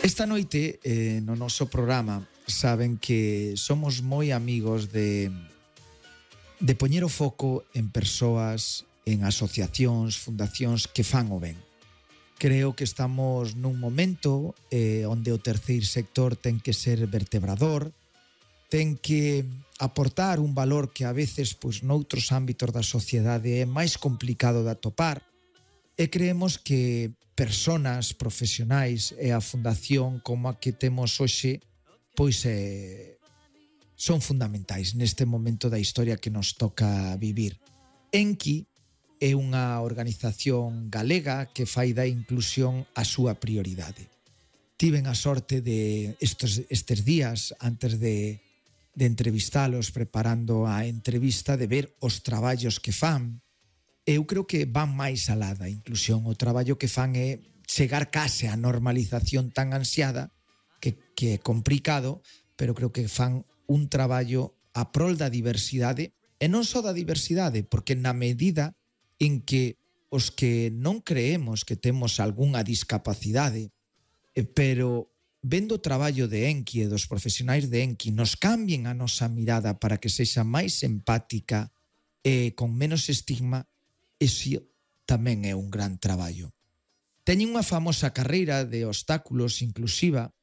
Esta noite, no noso programa, saben que somos moi amigos de poñer o foco en persoas, en asociacións, fundacións que fan o ben. Creo que estamos nun momento onde o terceiro sector ten que ser vertebrador, ten que aportar un valor que a veces noutros ámbitos da sociedade é máis complicado de atopar, e creemos que personas profesionais e a fundación como a que temos hoxe son fundamentais neste momento da historia que nos toca vivir. Enki é unha organización galega que fai da inclusión a súa prioridade. Tiven a sorte de estes días, antes de entrevistalos, preparando a entrevista, de ver os traballos que fan. Eu creo que van máis alá da inclusión. O traballo que fan é chegar case á normalización tan ansiada que é complicado, pero creo que fan un traballo a prol da diversidade, e non só da diversidade, porque na medida en que os que non creemos que temos algunha discapacidade, pero vendo o traballo de Enki e dos profesionais de Enki nos cambien a nosa mirada para que sexa máis empática e con menos estigma, ese tamén é un gran traballo. Teñen unha famosa carreira de obstáculos inclusiva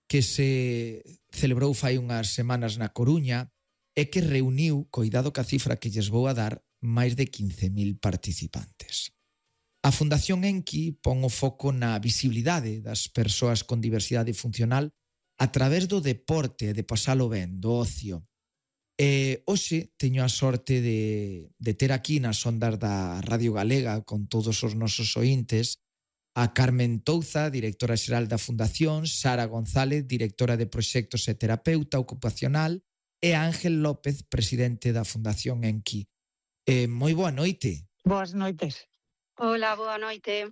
que se celebrou fai unhas semanas na Coruña e que reuniu, coidado ca cifra que lles vou a dar, máis de 15.000 participantes. A Fundación Enki pon o foco na visibilidade das persoas con diversidade funcional a través do deporte e de pasalo ben, do ocio. E hoxe teño a sorte de ter aquí nas ondas da Radio Galega con todos os nosos ointes a Carmen Touza, directora xeral da Fundación, Sara González, directora de proxectos e terapeuta ocupacional, e Ángel López, presidente da Fundación Enki. Moi boa noite. Boas noites. Hola, boa noite.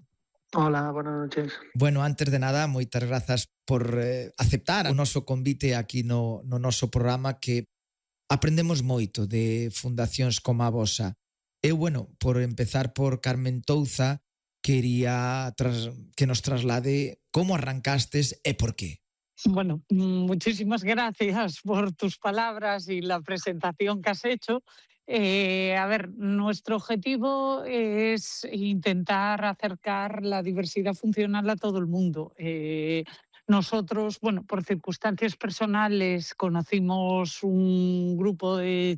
Hola, buenas noches. Bueno, antes de nada, moitas grazas por aceptar o noso convite aquí no noso programa, que aprendemos moito de fundacións como a vosa. Eu, por empezar por Carmen Touza, quería que nos traslade como arrancastes e por qué. Bueno, muchísimas gracias por tus palabras y la presentación que has hecho. Nuestro objetivo es intentar acercar la diversidad funcional a todo el mundo. Nosotros, por circunstancias personales, conocimos un grupo de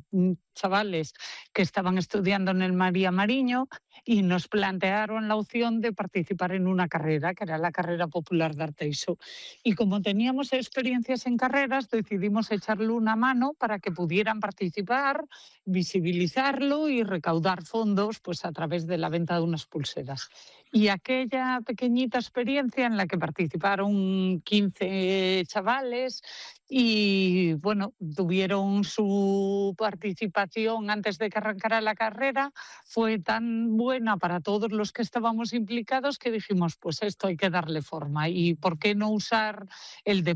chavales que estaban estudiando en el María Mariño y nos plantearon la opción de participar en una carrera, que era la carrera popular de Arteixo. Y como teníamos experiencias en carreras, decidimos echarle una mano para que pudieran participar, visibilizarlo y recaudar fondos a través de la venta de unas pulseras. Y aquella pequeñita experiencia en la que participaron 15 chavales y tuvieron su participación antes de que arrancara la carrera, fue tan buena para todos los que estábamos implicados que dijimos, esto hay que darle forma, y por qué no usar el deporte